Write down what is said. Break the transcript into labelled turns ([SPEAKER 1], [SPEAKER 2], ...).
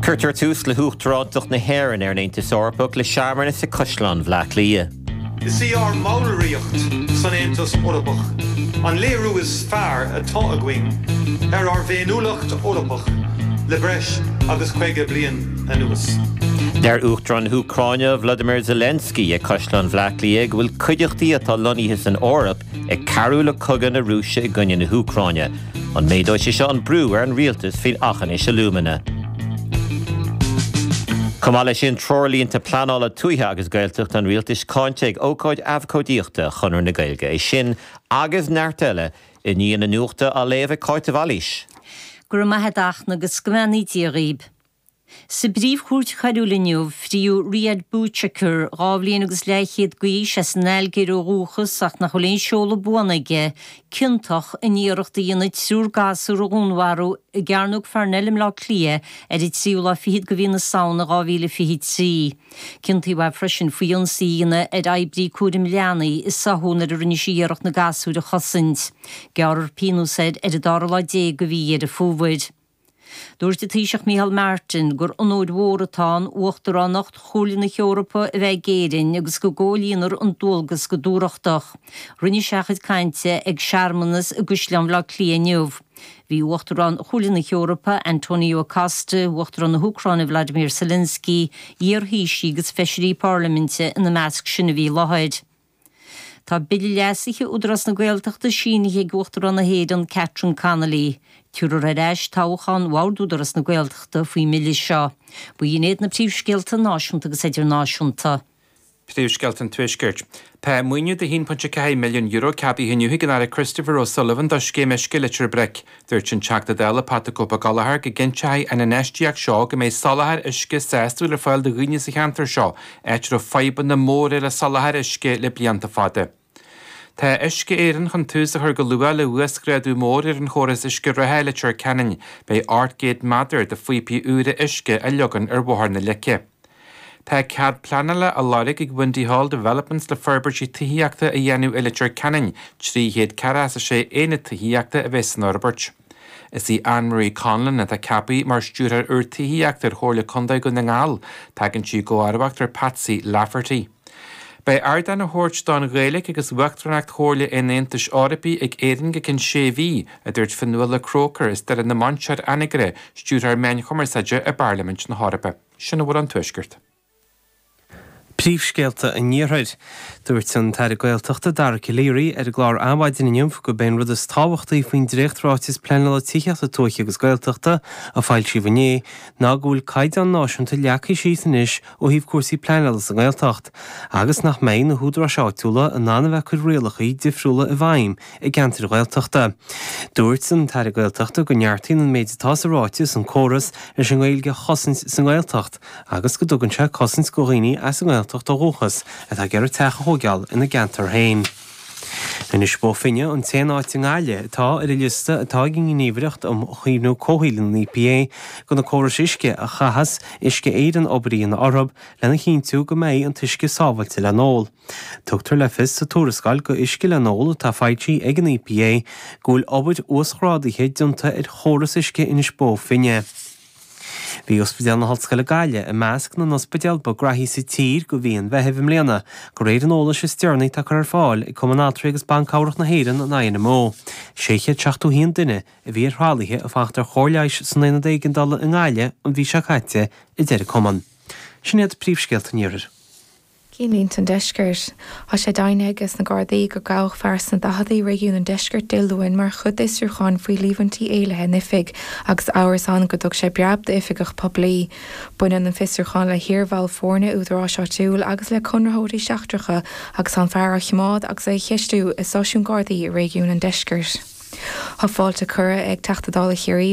[SPEAKER 1] Cuirtear tús le hUachtarántacht na hÉireann ar an Aontas Eorpach le searmanas ag Caisleán Bhaile Átha Cliath.
[SPEAKER 2] Is í ár mballraíocht san Aontas Eorpach an léiriú is fearr atá againn ar ár bhféiniúlacht Eorpach le breis agus 50 bliain anuas.
[SPEAKER 1] Deir Uachtarán na hÚcráine Volodymyr Zelensky ag Caisleán Bhaile Átha Cliath go bhfuil cuideachtaí atá lonnaithe san Eoraip ag cabhrú le cogadh na Rúise i gcoinne na hÚcráine. An méadóidh sé seo an brú ar an rialtas faoin achainí alúmana? Chomh maith leis sin, treoirlínte pleanála tuaithe agus Gaeltachta an rialtais cáinte ag ócáid abhcóidíochta Chonradh na Gaeilge. É sin agus neart eile i ndiaidh na nuachta á léamh ag Cáit de Bhailís.
[SPEAKER 3] Go raibh maith a'd a Fhachtna agus go mbeannaí Dia dhaoib. Sa bPríomh-Chúirt Choiriúil inniu, fríodh Riadh Bouchaker, 2 bhliain agus leathchéad d'aois, as an Ailgéir ó dhúchas ach nach bhfuil aon seoladh buan aige, ciontach in iarracht a dhéanamh triúr gasúr a dhúnmharú i gCearnóg Pharnell i mBleá Cliath ar an tríú lá fichead de mhí na Samhna 2023. Ciontaíodh é freisin faoi ionsaí a dhéanamh ar oibrí cúraim leanaí i Soho nuair a rinne sé iarracht na gasúir a chosaint. Gearrfar pionós air ar an dara lá déag de mhí Dheireadh Fómhair. Dúirt an Taoiseach Micheál Martin gur onóir mhór atá ann Uachtaránacht Chomhairle na hEorpa a bheith ag Éirinn agus go gcomhlíonfar an dualgas go dúthrachtach. Rinne sé a chuid cainte ag searmanas i gCaisleán Bhaile Átha Cliath inniu. Bhí Uachtarán Chomhairle na hEorpa, Antonio Costa, Uachtarán na hÚcráine Vladimir Zelensky, iar-thaoisigh agus feisirí parlaiminte ina measc sin a bhí i láthair. Tá Bille Leasaithe Údarás na Gaeltachta sínithe ag Uachtarán na hÉireann Catherine Connolly. Tabharfar ar ais toghchán Bhord Údarás na Gaeltachta faoin mbille seo. B'in iad na príomhscéalta náisiúnta agus idirnáisiúnta.
[SPEAKER 4] Príomhscéalta an Tuaiscirt. Tá maoiniú de €1.4 milliún ceadaithe inniu ag an Aire Christopher O'Sullivan do Scéim Uisce Leitir Bric. Dúirt an Teachta Dála Pat the Cope Gallagher go gcinnteoidh an infheistíocht seo go mbeidh soláthar uisce sásúil ar fáil do dhaoine sa cheantar seo, áit a raibh fadhbanna móra le soláthar uisce le blianta fada. Tá Uisce Éireann chun tús a chur go luath le huasghrádú mór ar an chóras uisce reatha i Leitir Ceanainn. Beidh 800 méadar de phíopaí úra uisce á leagan ar Bhóthar na Leice. Tá cead pleanála á lorg ag Windy Hall Developments le forbairtí tithíochta a dhéanamh i Leitir Ceanainn, 346 aonad tithíochta a bheas san fhorbairt. Is í Anne Marie Conlon atá ceaptha mar Stiúrthóir úr Tithíochta ar Chomhairle Contae Dhún na nGall. Tagann sí i gcomharbacht ar Patsy Lafferty. Beidh ardán á thabhairt don Ghaeilge agus Uachtaránacht Chomhairle an Aontais Eorpaigh ag Éirinn go ceann sé mhí, a dúirt Fionnuala Croker as Doire na Mainsear, Anagaire, Stiúrthóir Meáin Chumarsáide i bParlaimint na hEorpa. Sin a bhfuil ón Tuaisceart.
[SPEAKER 5] Príomhscéalta an Iarthair. Dúirt an tAire Gaeltachta Dara Calleary ar an gclár Adhmhaidin inniu gurb é an rud is tábhachtaí faoin dréacht-ráiteas pleanála tithíochta tuaithe agus Gaeltachta a foilsíodh inné ná go bhfuil caighdeán náisiúnta leagtha síos anois ó thaobh cúrsaí pleanála sa nGaeltacht agus nach mbeidh na húdaráis áitiúla in ann a bheith ag cur rialacha difriúla i bhfeidhm i gceantair Ghaeltachta. Dúirt an tAire Gaeltachta go neartaíonn an méid atá sa ráiteas an córas leis an nGaeilge a chosaint sa nGaeltacht agus go dtugann sé cosaint do dhaoine as an nGaeltacht ó dhúchas atá ag iarraidh teach a thóigeáil ina gceantar féin. Inis Bó Finne an t-aon áit i nGaillimh atá ar an liosta atá ag an nGníomhaireacht um Chaomhnú Comhshaoil, an EPA, de na córais uisce a chaithfeas Uisce Éireann obair a dhéanamh orthu lena chinntiú go mbeidh an t-uisce sábháilte le n-ól. Tugtar le fios sa tuarascáil go Uisce le n-ól atá foilsithe ag an EPA go bhfuil obair uasghrádaithe déanta ar chóras uisce Inis Bó Finne. Bhí Ospidéal na hOllscoile Gaillimh i measc na n-ospidéal ba graithí sa tír go mhí an Mheithimh i mbliana, de réir an eolais is deireanaí atá curtha ar fáil ag Cumann Altraí agus Ban Cabhrach na hÉireann, an INMO. 671 duine a bhí ar thralaithe ag fanacht ar chóir leighis san Aonad Éigeandála i nGaillimh an mhí seo caite, a deir an Cumann. Sin iad príomhscéalta an Iarthair.
[SPEAKER 6] Cinnlínte an Deiscirt. Tá sé deimhnithe aige na Gardaí gur gabhadh fear sna daicheadaí i réigiún an Deiscirt Dé Luain mar chuid d'fhiosrúchán faoi líomhaintí éillithe in oifig agus amhras ann go dtug sé breab d'oifigeach poiblí. Baineann an fiosrúchán le hiarbhall foirne údaráis áitiúil agus le conraitheoirí seachtracha agus tá an fear á choimeád agus é á cheistiú i stáisiún Gardaí i réigiún an Deiscirt. Tá fáilte curtha ag Teachta Dála Chiarraí.